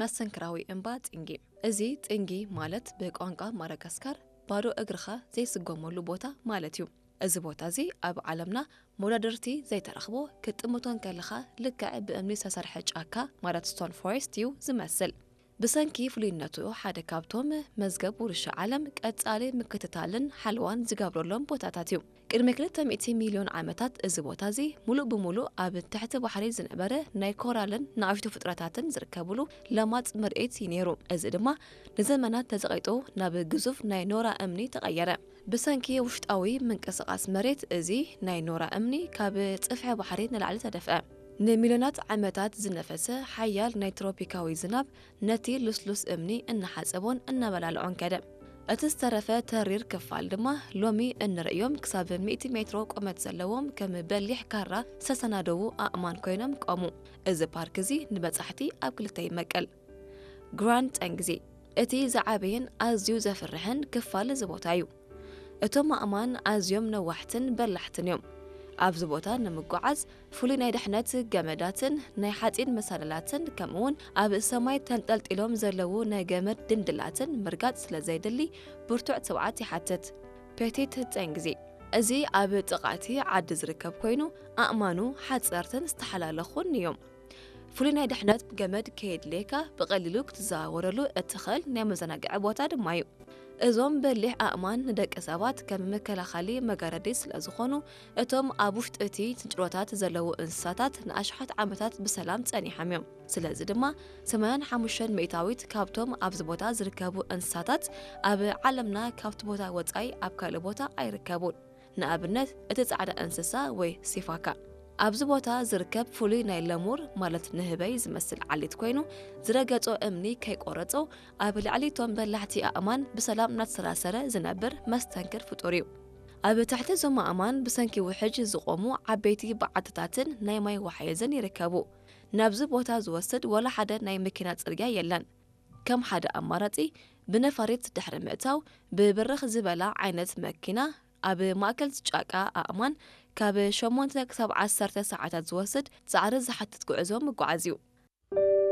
መስተንክራዊ እምባ ጥንጊ። እዚ ጥንጊ ማለት ብቋንቋ ማዳጋስካር ባዶ እግርኻ ዘይስጎመሉ ቦታ ማለት እዩ። እዚ ቦታ እዚ ኣብ ዓለምና መወዳድርቲ ዘይተረኽቦ፣ ክትጥምቶ እንከለኻ ልክዕ ብእምኒ ዝተሰርሐ ጫካ ማለት ስቶን ፎሬስት እዩ ዝመስል። ብሰንኪ ፍሉይነቱ ሓደ ካብቶም መዝገብ ውርሻ ዓለም ቀጻሊ ምክትታልን ሓለዋን ዝገብረሎም ቦታታት እዩ። ቅድሚ ክልተ ሚእቲ ሚልዮን ዓመታት እዚ ቦታ እዚ ሙሉእ ብሙሉእ ኣብ ትሕቲ ባሕሪ ዝነበረ ናይ ኮራልን ንኣሽቱ ፍጥረታትን ዝርከብሉ ለማጽ መሬት እዩ ነይሩ። እዚ ድማ ንዘመናት ተጸቒጡ ናብ ግዙፍ ናይ ኖራ እምኒ ተቐየረ። ብሰንኪ ውሽጣዊ ምንቅስቓስ መሬት፣ እዚ ናይ ኖራ እምኒ ካብ ጽፍሒ ባሕሪ ንላዕሊ ተደፍአ። ንሚልዮናት ዓመታት ዝነፈሰ ሓያል ናይ ትሮፒካዊ ዝናብ ነቲ ልስሉስ እምኒ እናሓጸቦን እናበላልዖን ከደ። እቲ ዝተረፈ ተሪር ክፋል ድማ ሎሚ እንርእዮም ክሳብ ሚእቲ ሜትሮ ቁመት ዘለዎም ከም በሊሕ ካራ ዝተሰናደዉ ኣእማን ኮይኖም ቆሙ። እዚ ፓርክ እዚ ንበጻሕቲ ኣብ ክልተ ይመቀል። ግራንድ ጠንግዚ እቲ ዝዓበየን ኣዝዩ ዘፍርሕን ክፋል እዚ ቦታ እዩ። እቶም ኣእማን ኣዝዮም ነዋሕትን በላሕትን እዮም። ኣብዚ ቦታ ንምጉዓዝ ፍሉይ ናይ ድሕነት ገመዳትን ናይ ሓጺን መሳለላትን ከምኡውን ኣብ ሰማይ ተንጠልጢሎም ዘለዉ ናይ ገመድ ድንድላትን ምርጋጽ ስለ ዘየድሊ ብርቱዕ ትብዓት ይሓትት። ፔቲት ጠንግዚ እዚ ኣብ ጥቓ እቲ ዓዲ ዝርከብ ኮይኑ ኣእማኑ ሓጸርትን ዝተሓላለኹን እዮም። ፍሉይ ናይ ድሕነት ገመድ ከየድልየካ ብቐሊሉ ክትዘዋወረሉ እትኽእል ናይ መዘናግዒ ቦታ ድማ እዩ። እዞም በሊሕ ኣእማን ንደቂ ሰባት ከም መከላኸሊ መጋረዲ ስለ ዝኾኑ፣ እቶም ኣብ ውሽጢ እቲ ስንጭሮታት ዘለዉ እንስሳታት ንኣሽሓት ዓመታት ብሰላም ጸኒሖም እዮም። ስለዚ ድማ ሰማንያን ሓሙሽተን ሚእታዊት ካብቶም ኣብዚ ቦታ ዝርከቡ እንስሳታት ኣብ ዓለምና ካብቲ ቦታ ወጻኢ ኣብ ካልእ ቦታ ኣይርከቡን። ንኣብነት እቲ ጻዕዳ እንስሳ ወይ ሲፋካ። ኣብዚ ቦታ ዝርከብ ፍሉይ ናይ ለሙር ማለት ንህበይ ዝመስል ዓሌት ኮይኑ፣ ዝረገጾ እምኒ ከይቆረጾ ኣብ ልዕሊ እቶም በላሕቲ ኣእማን ብሰላም እናተሰራሰረ ዝነብር መስተንክር ፍጡር እዩ። ኣብ ትሕቲ እዞም ኣእማን ብሰንኪ ውሕጅ ዝቖሙ ዓበይቲ በዓትታትን ናይ ማይ ወሓይዝን ይርከቡ። ናብዚ ቦታ ዝወስድ ወላ ሓደ ናይ መኪና ጽርግያ የለን። ከም ሓደ ኣማራጺ ብነፋሪት ድሕሪ ምእታው ብብርኽ ዝበላ ዓይነት መኪና ኣብ ማእከል ጫቃ ኣእማን ካብ ሸሞንተ ክሳብ ዓሰርተ ሰዓታት ዝወስድ ጻዕሪ ዝሓትት ጉዕዞ ምጓዓዝ እዩ።